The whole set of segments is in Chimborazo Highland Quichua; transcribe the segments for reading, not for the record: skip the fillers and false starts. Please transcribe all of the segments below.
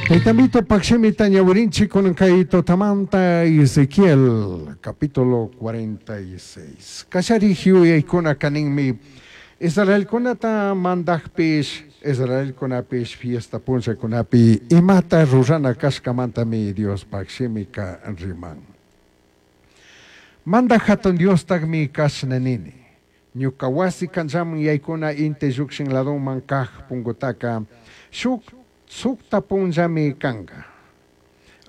Tayta Amitopak shimita ñawirinchik kunan kay tutamanta Ezequiel capítulo 46. Kallarik yuyaykunaka ninmi Israelkunata mandakpish Israelkunapish fiesta punllakunapi imata rurana kashkamantami Diospak shimika riman. Mandak hatun Diostakmi kashna nini. Ñuka wasi kanchaman yaykuna inti llukshin ladoman kaj pungutaka shuk sukta punllami kanka.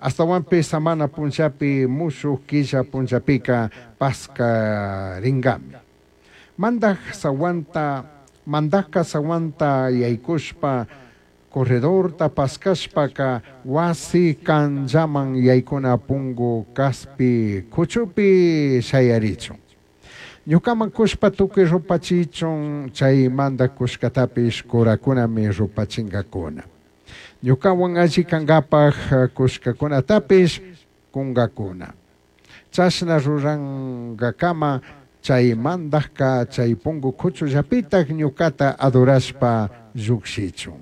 Astawanpi samana punllapi mushuk killa punllapika paskaringami. Mandak sawanta mandakka sawanta yaykushpa corredorta paskashpaka wasi kanllaman yaykuna pungu kaspi kuchupi shayarichun. Ñukaman kushpa tukuy rupachichun chay mandak kushkatapish kurakunami rupachinkakuna. Ñukawan alli kankapaj kushkakunatapish kunkakuna. Chashna rurankakama chay mandakka chay pungu kuchullapitak ñukata adorashpa llukshichun.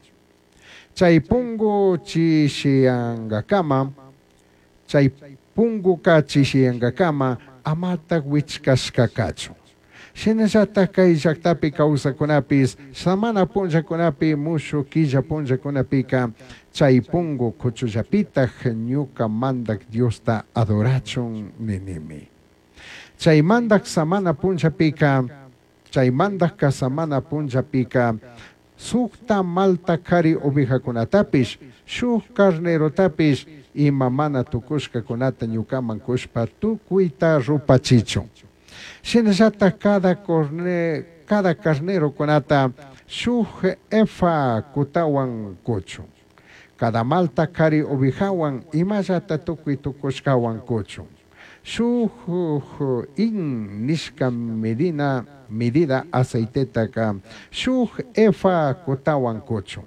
Chay pungu chishiyankakama, chay punguka chishiyankakama amatak wichkashka kachun. Shinallatak kay llaktapi kawsakunapis samana punllakunapi mushuk killa punllakunapika chay pungu kuchullapitak ñuka mandak Diosta adorachun ninimi. Chay mandak samana punllapika, chay mandakka samana punllapika sukta malta kari ovejakunatapish, shuk carnerotapish ima mana tukushkakunata ñukaman kushpa tukuyta rupachichun. Shinallatak cada corne, cada carnerokunata shuk efa kutawan kuchun. Cada malta kari ovejawan imallata tukuy tukushkawan kuchun. Shuk hin nishka medina medida aceitetaka shuk efa kutawan kuchun.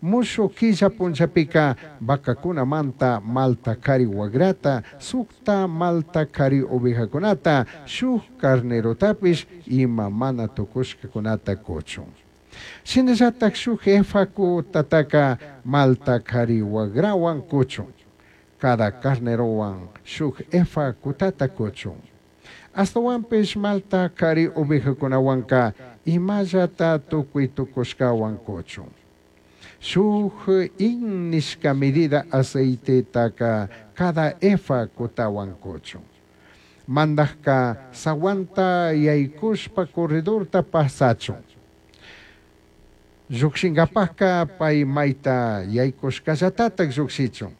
Mushuk killa punllapika vacakunamanta malta kari wagrata, sukta malta kari ovejakunata, shuk carnerotapish ima mana tukushkakunata kuchun. Shinallatak shuk efa kutataka malta kari wagrawan kuchun. Cada carnerowan shuk efa kutata kuchun. Astawanpish malta kari ovejakunawanka imallata tukuy tukushkawan kuchun. Shuk hin nishka medida aceitetaka cada efa kutawan kuchun. Mandakka sawanta yaykushpa corredorta pasachun. Llukshinkapakka pay mayta yaykushkallatatak llukshichun.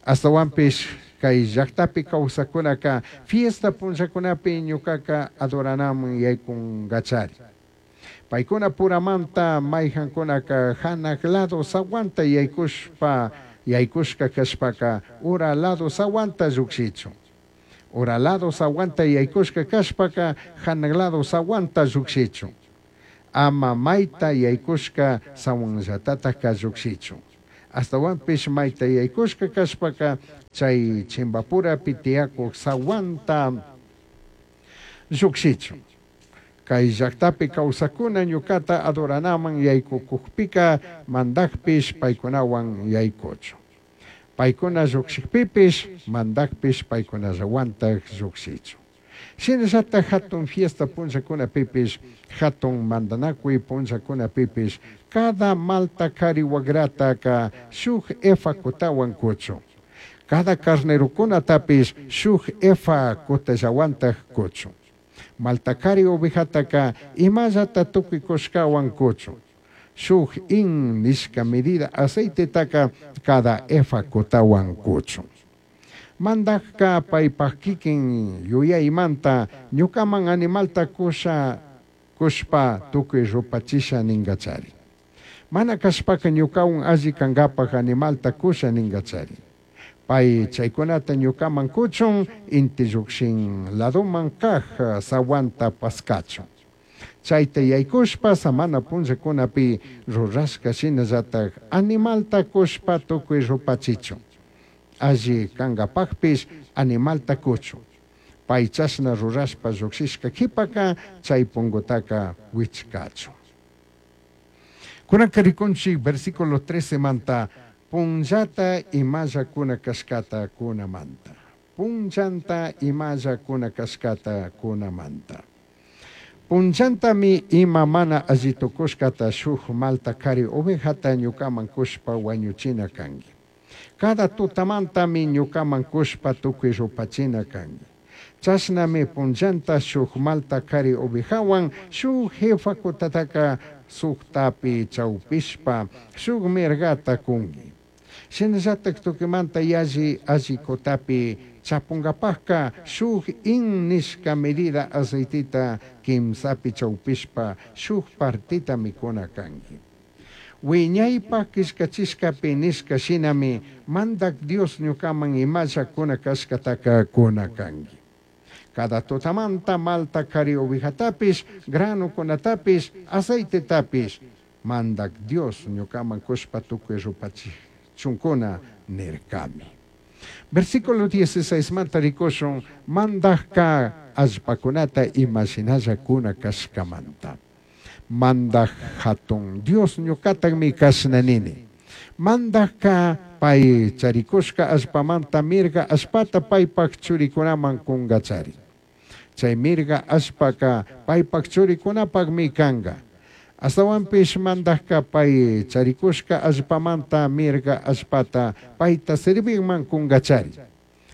Astawanpish kay llaktapi kawsakunaka fiesta punllakunapi ñukaka adoranaman yaykunkachari. Paykuna puramanta mayjankunaka hanak lado sawanta yaykushpa yaykushka kashpaka ura lado sawanta llukshichun. Ura lado sawanta yaykushka kashpaka hanak lado sawanta llukshichun. Ama mayta yaykushka sawanllatataka llukshichun. Astawanpish mayta yaykushka kashpaka chay chimbapurapi tiyakuk sawanta llukshichun. Kay llaktapi kawsakuna ñukata adoranaman yaykukukpika mandakpish paykunawan yaykuchun. Paykuna llukshikpipish mandakpish paykunallawantak llukshichun. Shinallatak hatun fiesta punllakunapipish hatun mandanakuy punllakunapipish cada malta kari wagrataka shuk efa kutawan kuchun. Cada carnerokunatapish shuk efa kutallawantak kuchun. Malta kari ovejataka imallata tukuy kushkawan kuchun. Shuk hin nishka medida aceitetaka cada efa kutawan kuchun. Mandakka paypak kikin yuyaymanta ñukaman animalta kusha kushpa tukuy rupachisha ninkachari. Mana kashpaka ñukawan alli kankapak animalta kusha ninkachari. Pay chaykunata ñukaman kuchun inti llukshin ladoman kaj sawanta paskachun. Chayta yaykushpa samana punllakunapi rurashka shinallatak animalta kushpa tukuy rupachichun. Alli kankapakpish animalta kuchun. Pay chashna rurashpa llukshishka kipaka chay pungutaka wichkachun. Kunanka rikunchik versículo 13 manta Punllata imalla cuna cashcata cunamanta. Punllanta imalla cuna cashcata cunamanta. Punllantami ima mana alli tucushcata shuj malta cari ovejata ñucaman cushpa huañuchina cangui. Cada tutamantami ñucaman cushpa tucui rupachina cangui. Chashnami punllanta shuj malta cari ovejahuan shuj efa cutataca sujtapi chaupishpa shuj mirgata cungui. Shinallataj tucuimanta yalli alli cutapi chapungapajca shuj hin nishca medida aceiteta quimsapi chaupishpa shuj parteta cuna cangui. Huiñaipaj quillcachishcapi nishca shinami Mandaj Dios ñucaman imalla cuna cashcataca cuna cangui. Cada tutamanta malta cari ovejatapish, granocunatapish, aceitetapish, Mandaj Dios ñucaman cushpa tucui rupachichuncuna nircami. Versículo 16 manta ricushun Mandajca allpacunata ima shinalla cuna cashcamanta. Mandaj jatun Dios ñucatajmi cashna nini. Mandajca pai charicushca allpamanta mirga allpata paipaj churicunaman cungachari. Chai mirga allpaca paipaj churicunapajmi canga. Ashtahuanpish mandajca pai charicushca allpamanta mirga allpata paita servijman cungachari.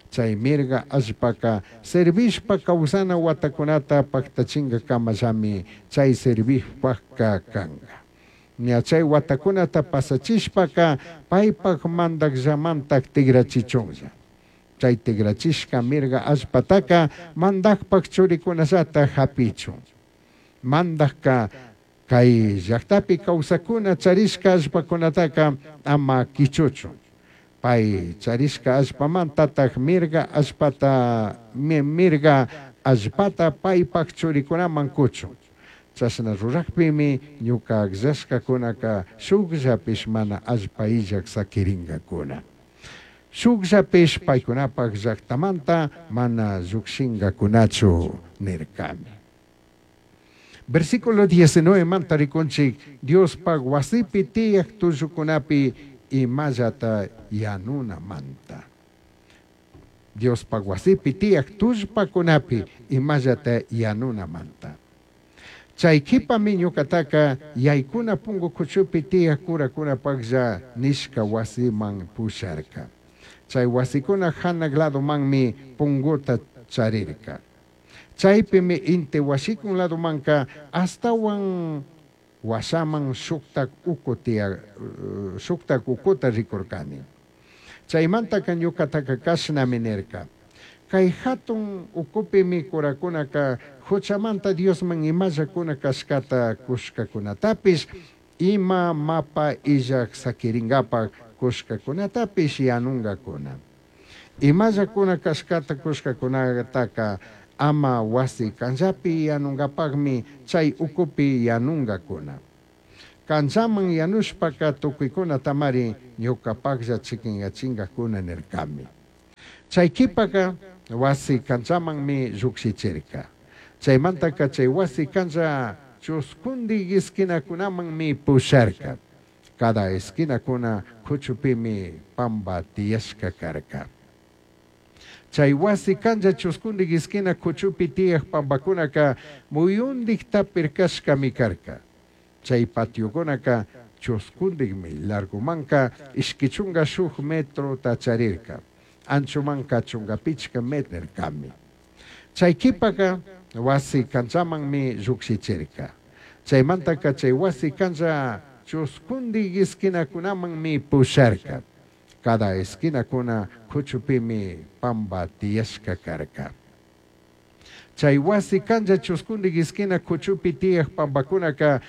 Chai mirga allpaca servishpa causana huatacunata pajtachingacamallami chai servijpajca canga. Ña chai huatacunata pasachishpaca paipaj mandajllamantaj tigrachichunlla. Chai tigrachishca mirga allpataca mandajpaj churicunallata japichun. Mandajca cai llajtapi causacuna charishca allpacunataca ama quichuchun. Pai charishca allpamantataj mirga allpata mirga allpata paipaj churicunaman cuchun. Chashna rurajpimi ñuca agllashcacunaca shujllapish mana allpa illaj saquiringacuna. Shujllapish paicunapaj llajtamanta mana llujshingacunachu nircami. Versículo 19 manta ricunchij Diospaj huasipi tiyaj tullucunapi imallata yanunamanta. Diospaj huasipi tiyaj tullpacunapi imallata yanunamanta. Chai quipami ñucataca yaicuna pungu cuchupi tiyaj curacunapajlla nishca huasiman pusharca. Chai huasicuna janaj ladomanmi punguta charirca. Chaipimi inti huashicun ladomanca ashtahuan huashaman shujtaj ucu tiya shujtaj ucuta ricurcani. Chaimantaca ñucataca cashnami nirca. Cai jatun ucupimi curacunaca juchamanta Diosman imalla cuna cashcata cushcacunatapish ima mapa illaj saquiringapaj cushcacunatapish yanungacuna. Imalla cuna cashcata cushcacunataca ama huasi canllapi yanungapajmi chai ucupi yanungacuna. Canllaman yanushpaca tucuicunatamari ñucapajlla ch'iquinyachingacuna nircami. Chai quipaca huasi canllamanmi llujshichirca. Chaimantaca chai huasi canlla chuscundij esquinacunamanmi pusharca. Cada esquinacuna cuchupimi pamba tiyashca carca. Chai huasi canlla chuscundij esquina cuchupi tiyaj pambacunaca muyundijta pircashcami carca. Chai patiocunaca chuscundijmi largomanca ishqui chunga shuj metrota charirca. Anchomanca chunga pichca metrcami. Chai quipaca huasi canllamanmi llujshichirca. Chaimantaca chai huasi canlla chuscundij esquinacunamanmi pusharca. Cada esquinacuna cuchupimi pamba tiyashca carca. Chai huasi canlla chuscundij esquina cuchupi tiyaj pambacunaca.